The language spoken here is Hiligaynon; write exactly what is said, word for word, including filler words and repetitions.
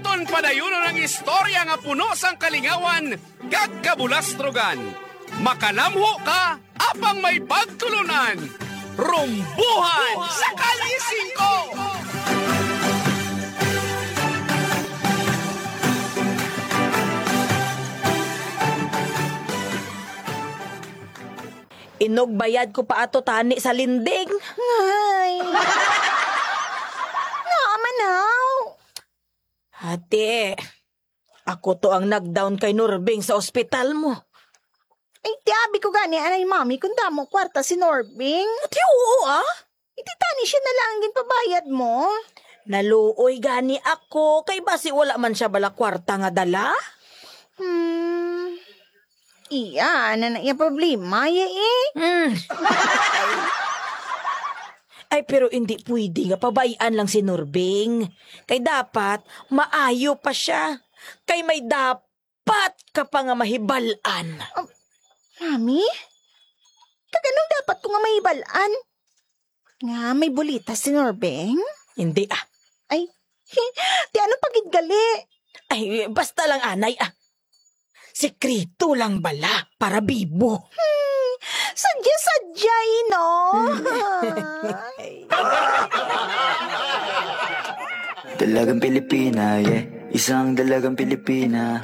Aton padayunon ang istorya nga puno sang kalingawan kag kabulastrogan. Makalamho ka apang may pagtulon-an. Rumbuhan sa Kalye Singko! Inugbayad ko pa ato tani sa linding. Ay. Naamanaw. Ate, ako to ang nag-down kay Norbing sa ospital mo. Ay, tiabi ko gani, anay mami, kung damo kwarta si Norbing. Ate, oo, ah. Iti tani siya na lang ang ginpabayad mo. Naluoy gani ako, kay basi wala man siya bala kwarta nga dala. Hmm. Iya, ano na iya problema, ya eh? Hmm. Ay, pero hindi pwede nga pabay-an lang si Norbing. Kay dapat, maayo pa siya. Kay may dapat ka pa nga mahibal-an. Um, Mami? Kag anong dapat ko nga mahibal-an? Nga may bulita si Norbeng? Hindi, ah. Ay, ti ano pa gid gali? Ay, basta lang, anay, ah. Sikreto lang bala para bibo. Hmm, sadya-sadya, eh, no? Dalagang Pilipina, yeah. Isang dalagang Pilipina.